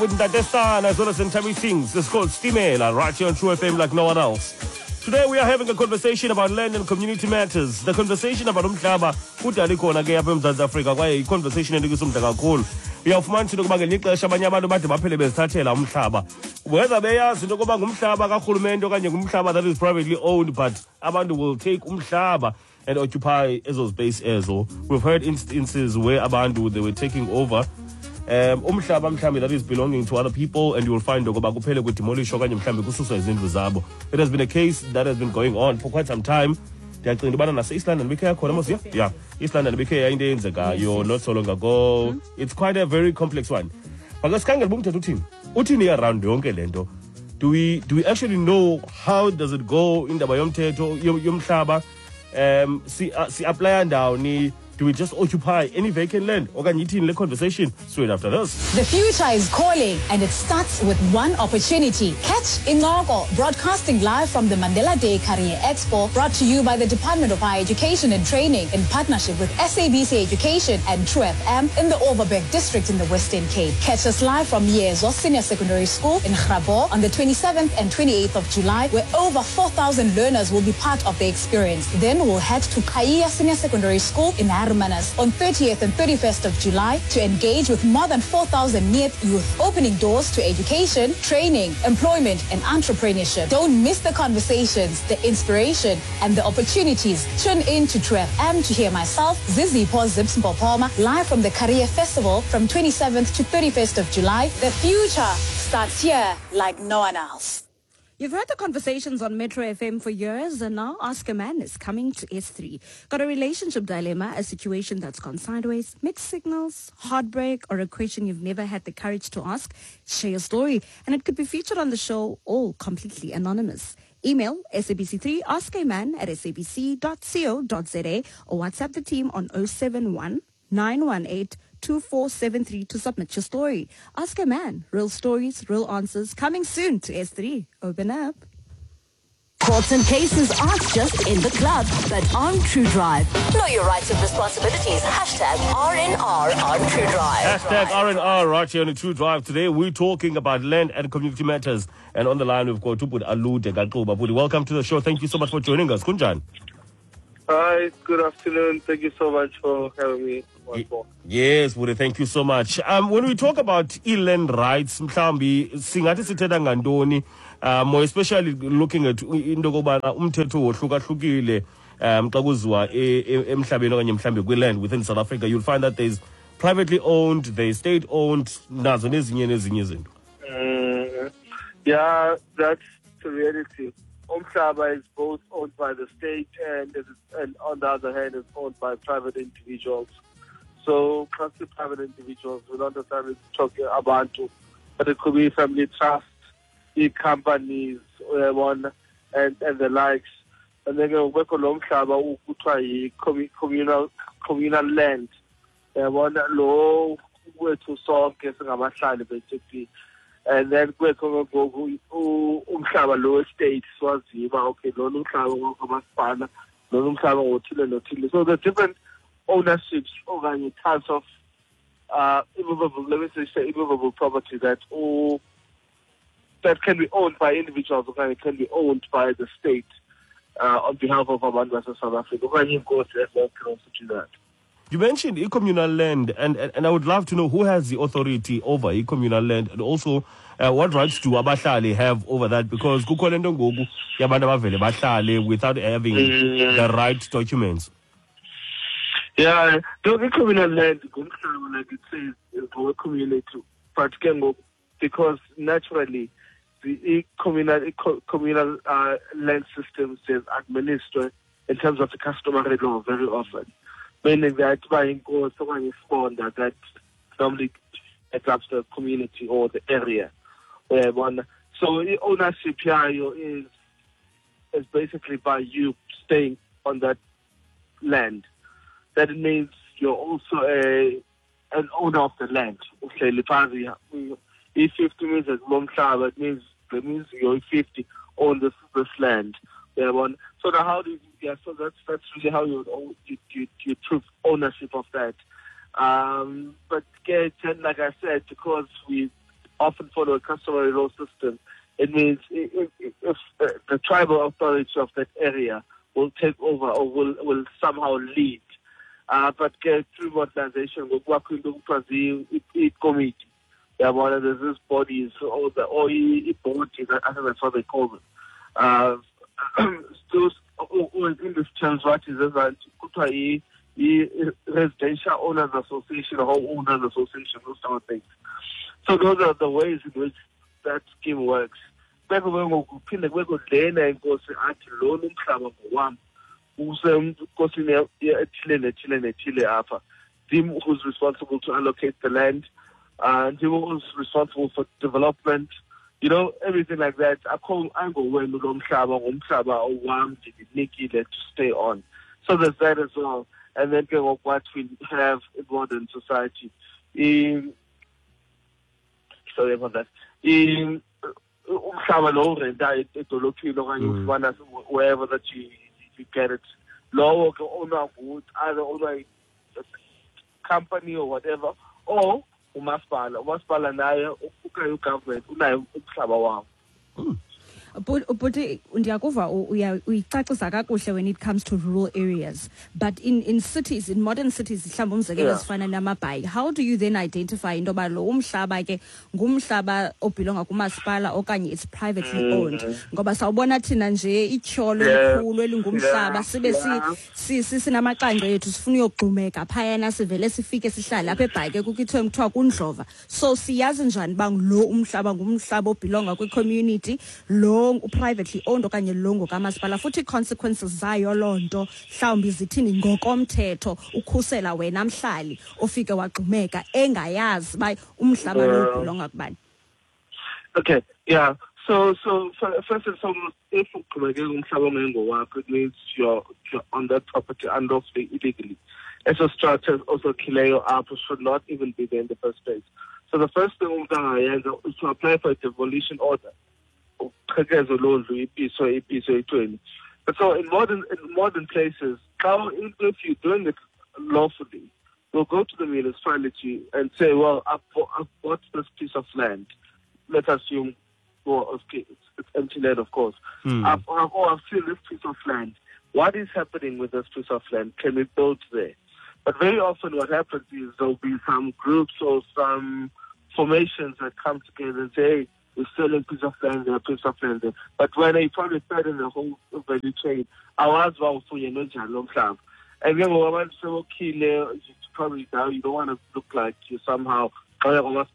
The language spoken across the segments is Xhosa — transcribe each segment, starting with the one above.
With Ntate as well as Ntabi Sings. It's called Stimela, right here on True FM like no one else. Today we are having a conversation about land and community matters. The conversation about umhlaba kudala ikhona ke apha eMzantsi Afrika kwaye i-conversation enikisa umdla kakhulu. Uyawufumanisa into yokuba ngelinye ixesha abanye abantu bade baphele bezithathela umhlaba. Whether beyazi into yokuba ngumhlaba karhulumente okanye ngumhlaba that is privately owned, but abantu will take umhlaba and occupy ezo space ezo. We've heard instances where abantu they were taking over umhlaba mhlawumbi that is belonging to other people, and you will find okoba kuphele kudemolishwa okanye mhlawumbi kususwa izindlu zabo. It has been a case that has been going on for quite some time. Ndiyacinga into yobana nase-East London bikhe yakhona mos, yeah, East London bikhe yayinto eyenzekayo not so long ago. It's quite a very complex one. But sikhangele uba umthetho uthini, uthini around yonke le nto. Do we actually know how does it go, indaba yomthetho yomhlaba? Si-applya ndawoni? Do we just occupy any vacant land okanye ithini le conversation? Straight after this. The future is calling, and it starts with one opportunity. Catch Incoko, broadcasting live from the Mandela Day Career Expo, brought to you by the Department of Higher Education and Training in partnership with SABC Education and True FM in the Overberg District in the Western Cape. Catch us live from Yezo Senior Secondary School in Grabouw on the 27th and 28th of July, where over 4,000 learners will be part of the experience. Then we'll head to Qhayiya Senior Secondary School in Hermanus on 30th and 31st of July to engage with more than 4,000 NEET youth, opening doors to education, training, employment, and entrepreneurship. Don't miss the conversations, the inspiration, and the opportunities. Tune in to True FM to hear myself, Zizipho Zips Mpopoma, live from the Career Festival from 27th to 31st of July. The future starts here like no one else. You've heard the conversations on Metro FM for years, and now Ask a Man is coming to S3. Got a relationship dilemma, a situation that's gone sideways, mixed signals, heartbreak, or a question you've never had the courage to ask? Share your story, and it could be featured on the show, all completely anonymous. Email SABC3 askaman@sabc.co.za or WhatsApp the team on 071 918 2473 to submit your story. Ask a Man, real stories, real answers, coming soon to S3. Open up. Courts and cases aren't just in the club, but on True Drive. Know your rights and responsibilities. #RNR on True Drive. #RNR right here on the True Drive. Today we're talking about land and community matters. And on the line we've got ubhuti Alude Kaxuba. Bhuti, welcome to the show. Thank you so much for joining us. Kunjani? Hi, good afternoon. Thank you so much for having me once more. Yes, bhuti, thank you so much. When we talk about e-land rights, mhlawumbi singathi sithetha ngantoni, more especially looking at into yokobana umthetho wohlukahlukile xa kuziwa emhlabeni okanye mhlawumbi kwi-land within South Africa. You'll find that there's privately owned, there's state owned, nazo nezinye nezinye izinto. Yeah, that's the reality. Umhlaba is both owned by the state and on the other hand is owned by private individuals. So classic private individuals, we don't necessarily talking about, but it could be family trusts, companies, one and the likes. And then kubekho lo mhlaba kuthiwa yi-communal land. Yabona, lo wethu sonke singabahlali basically. And then kubekho ngoku umhlaba lo state siwaziyo uba okay, lona umhlaba ngokamasipala, lona umhlaba ngothile nothile. So the different ownerships okanye types of immovable, let me say immovable property that can be owned by individuals okanye can be owned by the state on behalf of abantu base-South Africa okanye iinkosi as well can also do that. You mentioned e-communal land, and I would love to know who has the authority over e-communal land, and also what rights do abahlali have over that? Because kukho le nto ngoku yabantu abavele bahlale without having the right documents. Yeah, the communal land, ngumhlaba, like it says, is for community. But ke ngoku, because naturally the communal land systems is administered in terms of the customary law very often, meaning that by inkosi okanye isibonda that normally heads the community or the area. Uyayibona? So i-ownership yayo is basically by you staying on that land. That means you're also a an owner of the land. Uhleli phantsi, i-50 meters kulo mhlaba, it means you're 50 own this land. Uyabona? So now how do you, yeah, so that's really how you would own, you prove ownership of that. But like I said, because we often follow a customary law system. It means if the tribal authority of that area will take over or will somehow lead. But through modernization, ngokwakho into kuthiwa ziikomiti. Yabona, there's this bodies or the or board, I think that's what they call them. Those in this terms, what is kuthiwa i-residential owners association, home owners association, those sort of things. So those are the ways in which that scheme works. Bese ke ngoku kuphinde kubekho lena inkosi athi lona umhlaba ngowam, usenkosini ethile nethile nethile apha. Ndim who's responsible to allocate the land, ndim who's responsible for development, everything like that. Akho angowenu lo mhlaba, ngumhlaba owam, ndinikile to stay on. So there's that as well. And then ke ngoku what we have in modern society, sorry about that, umhlaba lo urenta edolophini okanye ufumana wherever that you get it, lowo ke ownwa either ownwa company or whatever, or umasipala. Umasipala naye okanye ugovernment unaye umhlaba wawo. But ndiyakuva uyicacisa kakuhle when it comes to rural areas, but in cities, in modern cities, mhlawumbi umzekelo ezifana namaBhayi, how do you then identify into yoba lo umhlaba ke ngumhlaba obhilonga kumasipala okanye it's privately owned? Ngoba sawubona thina nje ityholo elikhulu elingumhlaba, sibe sinamacangco ethu sifuna uyogxumeka phayana, sivele sifike sihlale apha eBhayi ke kukho ithiwe kuthiwa kundlova. So siyazi njani uba lo umhlaba ngumhlaba obhilonga kwi-community, lo privately owned okanye lo ngokamasipala, futhi consequences zayo loo nto mhlawumbi zithini ngokomthetho ukhusela wena mhlali ofike wagxumeka engayazi uba umhlaba lo ubhilonga kubani? Okay, yeah. So first and foremost, if ugxumeke umhlaba ongengowakho, it means you're on that property unlawfully, illegally. Eso structure osakhileyo apho should not even be there in the first place. So the first thing umntu angayenza is to apply for a demolition order. Uqhekezo londlu ipiso ipiso ithweni. But so in modern places, if you're doing it lawfully, you'll go to the municipality and say, well, I've bought this piece of land. Let's assume, well, okay, it's empty land, of course. I've seen this piece of land. What is happening with this piece of land? Can we build there? But very often what happens is there'll be some groups or some formations that come together and say, hey, we're selling piece of land there, piece of land there. But when they probably third in the whole value chain, awazi uba ufunyenwe njani lo mhlaba. And then abantu sebokhile, probably now you don't want to look like you somehow, you've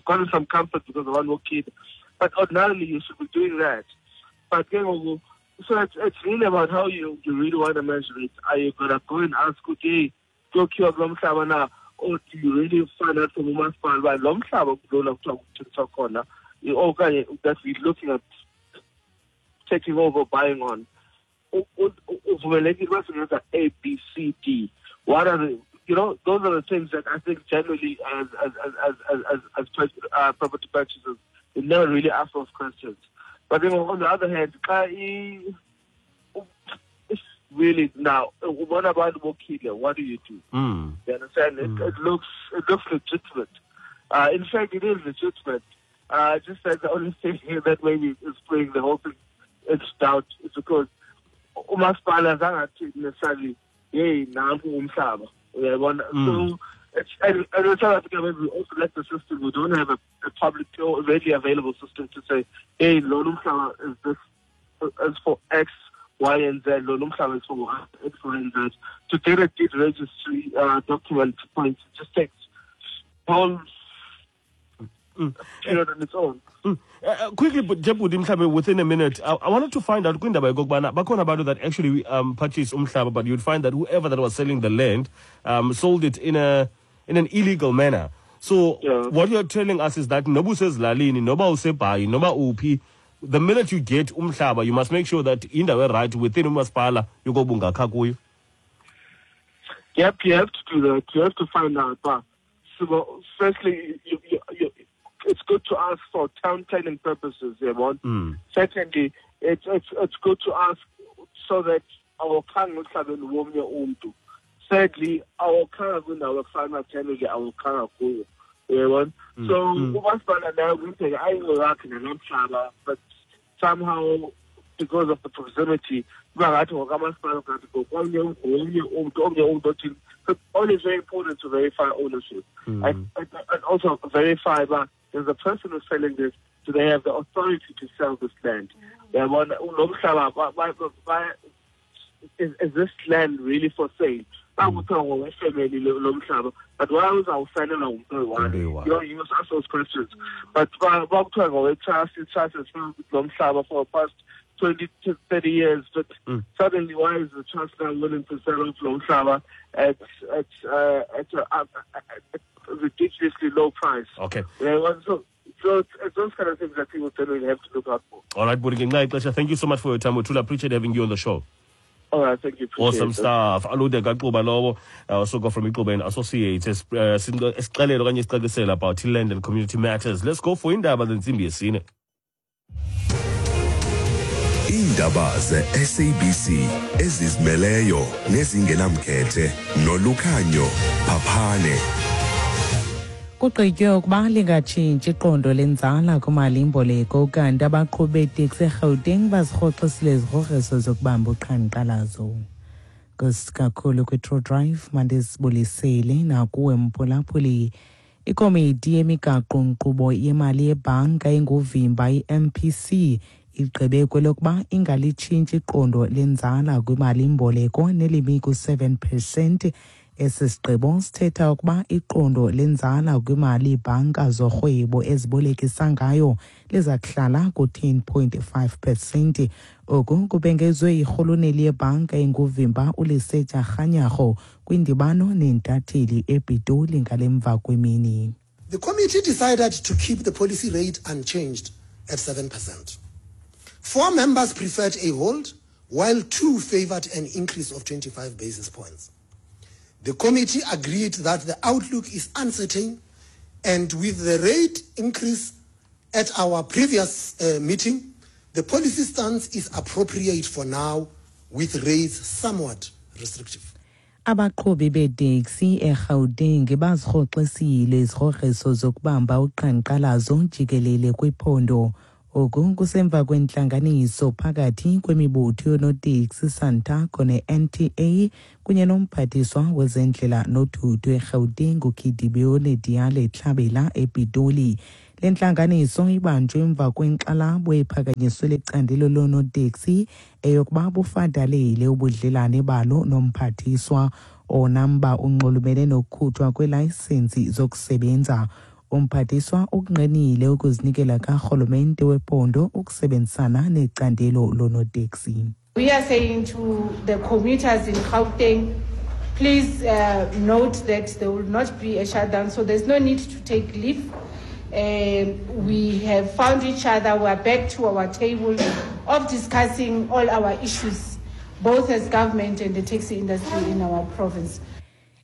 gotten some comfort because of one more kid. But ordinarily you should be doing that. But then, so it's really about how you really want to measure it. Are you going to go and ask, okay, go kulo mhlaba na, or do you really find out from umasipala uba lo mhlaba kulona kuthiwa kuthengiswa khona, okanye that we're looking at taking over, buying on, uvumelekile uba singenza A, B, C, D. What are the, those are the things that I think generally as property purchasers, we never really ask those questions. But then on the other hand, it's really now, what about Wokile? What do you do? You understand? It looks legitimate. In fact, it is legitimate. Just that the only thing that maybe is putting the whole thing into doubt is because umasipala zangathi necessarily, hey, nanku umhlaba. So it's, and in South Africa, maybe we also lack the system. We don't have a public or readily available system to say, hey, lo umhlaba is this is for X, Y, and Z. Lo umhlaba is for X, Y, and Z. To get a deed registry document point, it just takes whole period on its own. Quickly, Jebudi, mhlawumbe within a minute, I wanted to find out kwindaba yokokubana bakhona abantu that actually purchased umhlaba, but you'd find that whoever that was selling the land sold it in an illegal manner. So what you're telling us is that noba usezilalini, noba useBhayi, noba uphi, the minute you get umhlaba, you must make sure that indawo right within umasipala yokoba ungakha kuyo. Yep, you have to do that. You have to find out. But so, firstly, it's good to ask for town planning purposes. Yeah, Secondly, it's good to ask so that our. Sadly, awukhanga kwindawo ekufana ke, awukhanga kuyo, uyabona? So umasipala nayo kuyenzeka ayingowakhe nalaa mhlaba, but somehow because of the proximity kuba ngathi ngokamasipala, kanti ngokomnye, ngomnye umntu, omnye umntu othini. So it's always very important to verify ownership and also verify uba there's a person who's selling this, do they have the authority to sell this land, uyabona? Lo mhlaba is this land really for sale? Bakuthiwa ngowefemeli lo mhlaba, but why uzawusalelwa ngumntu oyi-one? Umntu oyi-one. You must ask those questions. But bakuthiwa ngowe-trust, i-trust has held lo mhlaba for the past 20 to 30 years, but suddenly why is the trust now willing to sell off lo mhlaba at a ridiculously low price? Yeah, well, so it's those kind of things that people generally have to look out for. All right, Bhuti, ngenxa yexesha, thank you so much for your time. We truly appreciate having you on the show. All right, thank you. Appreciate Awesome it. stuff. Aludeka Xuba lowo, usuka from Ixuba and Associates, esixelela okanye esicacisela about land and community matters. Let's go for indaba zentsimbi yesine. Iindaba ze-SABC ezizimeleyo nezingenamkhethe noLukhanyo Phaphane. Kugqitywe ukuba lingatshintshi iqondo lenzala kumalimboleko, kanti abaqhubi beeteksi eGauteng bazirhoxisile izigrogriso zokubamba uqhankqalazo. Nkosi kakhulu kwi-True Drive, mandizibulisele nakuwe mphulaphuli. Ikomiti yemigaqo-nkqubo yemali yebhanka enguvimba, i-MPC, igqibe kwelokuba ingalitshintshi iqondo lenzala kwimalimboleko nelimi ku-7 percent. Esi sigqibo sithetha ukuba iqondo lenzala kwimali iibhanka zorhwebo ezibolekisa ngayo liza kuhlala ku-10.5 percent. Oku kubhengezwe yirhuluneli yebhanka enguvimba uLesetja Kganyago kwindibano neentatheli ePitoli ngale mva kwemini. The committee decided to keep the policy rate unchanged at 7%. Four members preferred a hold, while two favored an increase of 25 basis points. The committee agreed that the outlook is uncertain, and with the rate increase at our previous meeting, the policy stance is appropriate for now, with rates somewhat restrictive. Abaqhubi beeteksi eGauteng bazirhoxisile izigrogriso zokubamba uqhankqalazo jikelele kwiphondo. Oku kusemva kwentlanganiso phakathi kwemibutho yoonoteksi, Santaco ne-NTA, kunye nomphathiswa wezendlela nothutho eGauteng uKedibiole Diale Tlabela ePitoli. Le ntlanganiso ibanjwe emva kwenkxalabo ephakanyiswe licandelo loonoteksi eyokuba bufadalele ubudlelane balo nomphathiswa. Onamba unxulumene nokukhutshwa kweelayisensi zokusebenza. Umphathiswa ukungqinile ukuzinikela karhulumente wephondo ukusebenzisana necandelo loonoteksi. We are saying to the commuters in Gauteng, please note that there will not be a shutdown, so there's no need to take leave. We have found each other, we are back to our table of discussing all our issues, both as government and the taxi industry in our province.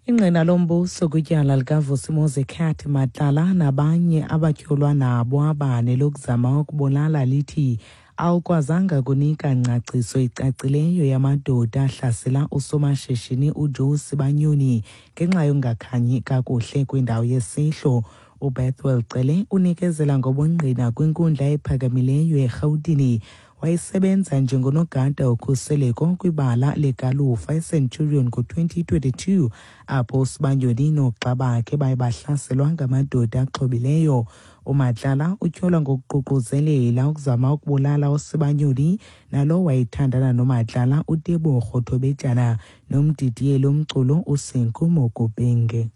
Ingqina lombuso kwityala likaVusimuzi Cat Matlala nabanye abatyholwa nabo abane lokuzama ukubulala lithi awukwazanga kunika ngcaciso icacileyo yamadoda ahlasela usomashishini uJoe Sibanyoni ngenxa yokungakhanyi kakuhle kwindawo yesehlo. UBethwell Cele unikezela ngobungqina kwinkundla ephakamileyo eRhawutini. Wayesebenza njengonogada wokhuseleko kwibala legalufa eCenturion ngo-2022, apho uSibanyoni noogxa bakhe baye bahlaselwa ngamadoda axhobileyo. UMatlala utyholwa ngokuququzelela ukuzama ukubulala uSibanyoni nalo wayethandana noMatlala uTebogo Thobejane nomdidiyeli umculo uSenku Mokupenge.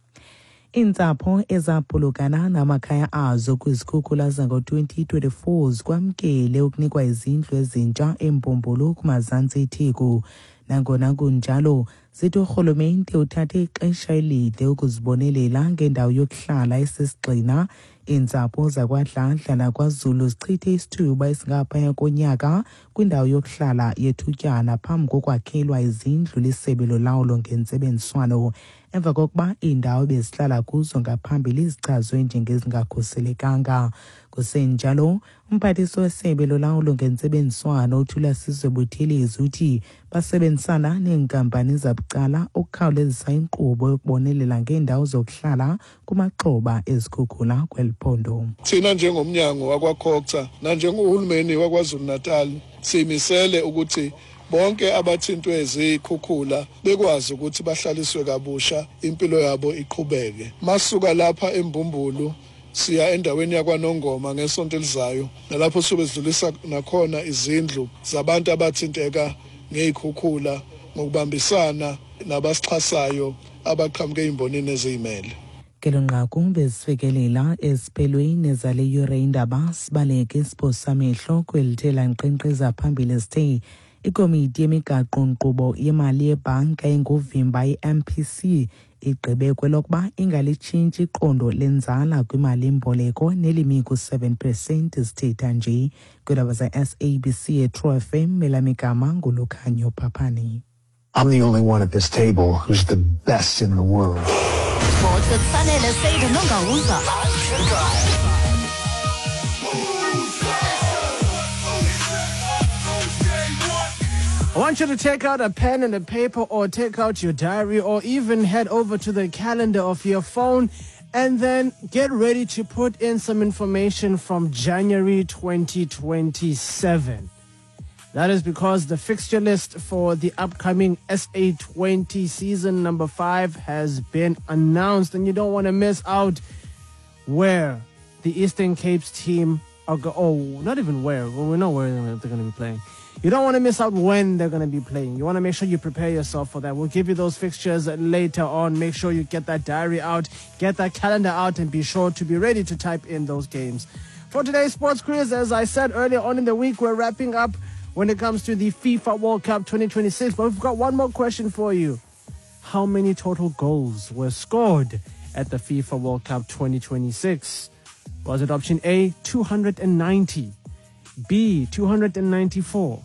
Iintsapho ezaphulukana namakhaya azo kwizikhukhula zango-2024 zikwamkele ukunikwa izindlu ezintsha eMbumbulu kumazantsi eTheku. Nangona kunjalo, zithi urhulumente uthathe ixesha elide ukuzibonelela ngendawo yokuhlala esisigxina. Iintsapho zakwaDladla nakwaZulu zichithe isithuba esingaphaya konyaka kwindawo yokuhlala yethutyana phambi kokwakhelwa izindlu lisebe lolawulo ngentsebenziswano. emva kokuba iindawo bezihlala kuzo ngaphambili zichazwe njengezingakhuselekanga. Kusenjalo, umphathiswa wesebe lolawulo ngentsebenziswano uThulasizwe Buthelezi uthi basebenzisana neenkampani zabucala ukukhawulezisa inkqubo yokubonelela ngeendawo zokuhlala kumaxhoba ezikhukhula kweli phondo. Thina njengomnyango wakwaCogta nanjengohulumeni waKwaZulu-Natal simisele ukuthi bonke abathintwe zikhukhula bekwazi ukuthi bahlaliswe kabusha, impilo yabo iqhubeke. Masuka lapha eMbumbulu siya endaweni yakwaNongoma ngesonto elizayo, nalapho sobe sidlulisa nakhona izindlu zabantu abathinteka ngey'khukhula ngokubambisana nabasixhasayo abaqhamuke ey'mbonini eziyimele. Ngelo nqaku bezifikelela esiphelweni zale yure indaba. Sibaleke isipho samehlo kwelithe lankqenkqeza phambili sithe ikomiti yemigaqo-nkqubo yemali yebhanka enguvimba i-MPC igqibe kwelokuba ingalitshintshi iqondo lenzala kwimali-mboleko nelimi ku-7 percent. Sithetha nje kwiindaba ze-SABC eTrue FM, elamigama nguLukhanyo Phaphani. I'm the only one at this table who's the best in the world. Sports with Sanele Said Nongawuza on True Drive. I want you to take out a pen and a paper, or take out your diary, or even head over to the calendar of your phone and then get ready to put in some information from January 2027. That is because the fixture list for the upcoming SA20 season number 5 has been announced, and you don't want to miss out where the Eastern Cape's team are not even where, well, we know where they're going to be playing. You don't want to miss out when they're going to be playing. You want to make sure you prepare yourself for that. We'll give you those fixtures later on. Make sure you get that diary out, get that calendar out, and be sure to be ready to type in those games. For today's sports quiz, as I said earlier on in the week, we're wrapping up when it comes to the FIFA World Cup 2026. But we've got one more question for you. How many total goals were scored at the FIFA World Cup 2026? Was it option A, 290, B, 294,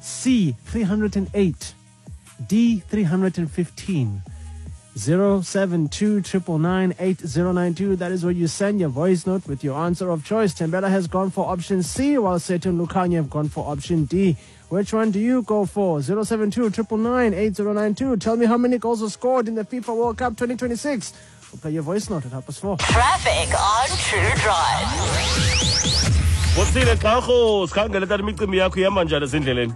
C, 308, D, 315? 072 999 8092. That is where you send your voice note with your answer of choice. Tembela has gone for option C, while Setu and Lukanya have gone for option D. Which one do you go for? 072 999 8092. Tell me how many goals were scored in the FIFA World Cup 2026. We'll play your voice note at 4:30. Traffic on True Drive. Botsile Xarho, sikhangele tata imicimbi yakho ihamba njani ezindleleni?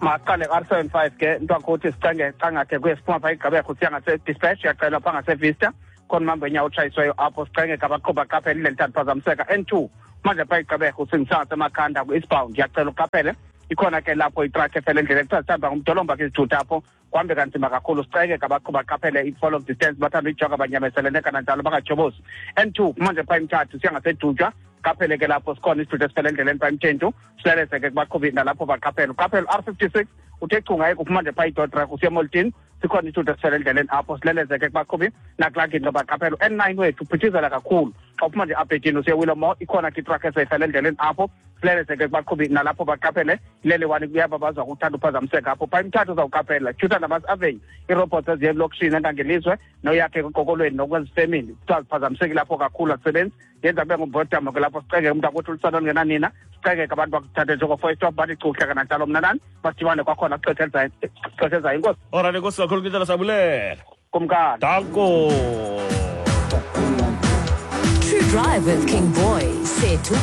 Maqale R75 ke ntwakuthi sicange cangakhe kuye siphuma pha igqibekho siya ngase-dispatch yacela pha ngasevista khona mambo enyawo otshayiswayo apho sicenge abaqhuba qaphele indlela ithatha phazamiseka N2 manje pha igqibekho singisa emakhanda ku-eastbound yacela uqaphele ikhona ke lapho itruck efele endleleni kuthiwa sihamba ngumdolomba ke izithutha apho kuhambe kanzima kakhulu siceke abaqhuba qaphele i-fall of distance bathanda uyijonga banyamezelene kananjalo bangajobozi N2 manje pha imthathu siya ngasedutywa qaphele ke lapho sikhona isithutha esifele endleleni pha imthentu silelese ke kubaqhubi nalapho baqaphele uqaphele R56 uthe chunga kuphuma nje pha idodrak usiya emoltini sikhona isithutha esifele endleleni apho sileleze ke kubaqhubi nakulaa ngingqi baqaphele N9 wethu uphithizela kakhulu xa uphuma nje abhedini usiya Willowmore ikhona ke itruck eseyifele endleleni apho sileleze ke kubaqhubi nalapho baqaphele ilele wani kuyaba baza kuthanda uphazamiseka apho pha imthathu uzawuqaphela Juta Namas Avenue iirobots eziye elokishini engangelizwe noyakhe ekokolweni nokwezifemini kuthiwa ziphazamisekile lapho kakhulu akusebenzi yenza kube ngumbhodamo ke lapho siceke umntu akuthi ulusana olungenanina siceke abantu bakuthathe njengofo-stop bathi cuhle kananjalo mna nani basidibane kwakhona kuxesha ezayo. Inkosi. Alright, enkosi kakhulu Kitala, sabulela. Kumkani. Danko. True Drive with King Boy, Sethu.